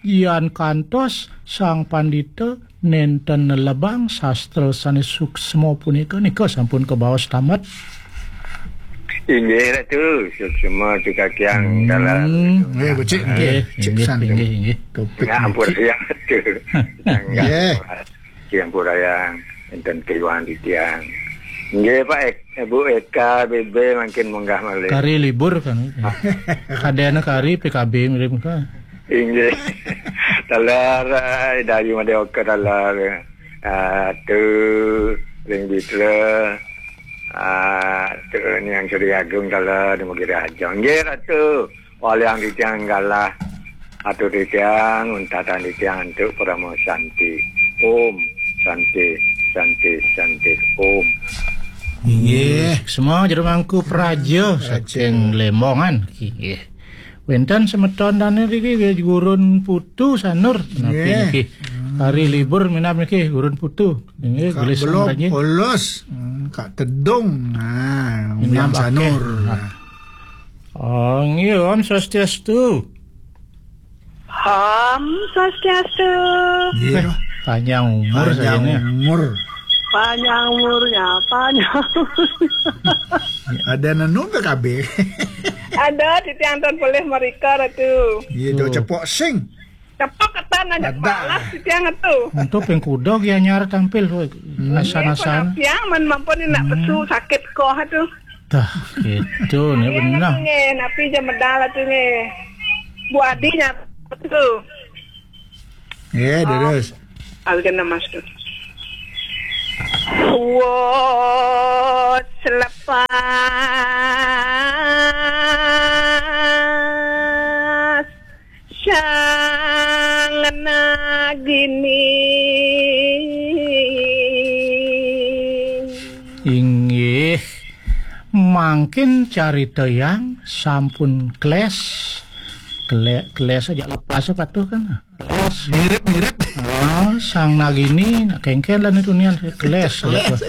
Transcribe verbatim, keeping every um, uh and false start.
Yan kantos Sang Pandita nenten nelebang sastra sane suksma punika, nika sampun kabaos tamat. Inggih, Ratu, suksma cukakiang Hmm. dalam. Nggih, becik, nggih. Nggih, Cik inggih, San. Inggih, inggih. Topik Ngampur becik. Siang, Ratu. Nggih. Siang purayang, enten keiwang titiang. Nggih, Pak Ek-, Bu Eka B B mangkin munggah malih. Kari libur kan. Kadene kari P K B mirip ka. Inggih. Taler, eh, Dayu Madya Oka taler. Ah, tu ring Bitra. Ah, tu Niang Sri Agung taler di Mugiri Aja. Nggih, Ratu. Waliang titiang galah. Atur titiang, untatan titiang antuk parama santi. Om Santi, Santi, Santi, Om. Inggih. Semua jero mangku praja Praja. Saking Lemongan. Inggih. Wenten semeton dane riki nggih Gurun Putu Sanur. Napi Nggih. Niki? Hari libur minab niki Gurun Putu. Inggih, Kak gelis Belop, Sangraji. Polos. Hmm, Kak Tedung. Nah, Minab William Sanur. Akeh. Nah. Oh, nggih, Om Swastiastu. Om Swastiastu. Iya. Eh, panjang umur Panjang saya ini. Umur. Panjang umurnya, panjang umurnya. Ada nenu P K B. Ada, titiang ton polih mereka, Ratu. Iya, do Tuh. Cepok sing. Cepok ketan aja Ada. Malas, titiang tu. Untuk ping kuda ki anyar tampil, weh. Hmm. Asan-asan. Tiang men mampun nak Hmm. pesu sakit koh tu. Dah, gitu, ni Iya, benar. Nggih, napi je medal tu nggih. Bu Adi nyata tu. Nggih, terus. Algen nama tu. Wot selepas Sang Nagini. Inggih, mangkin carita yang sampun kles. Kle-, kles aja lepas patuh kan. Kles. Mirip-mirip. Oh, Sang Nagini, nak kengken lah nitu nian, kles. Kles.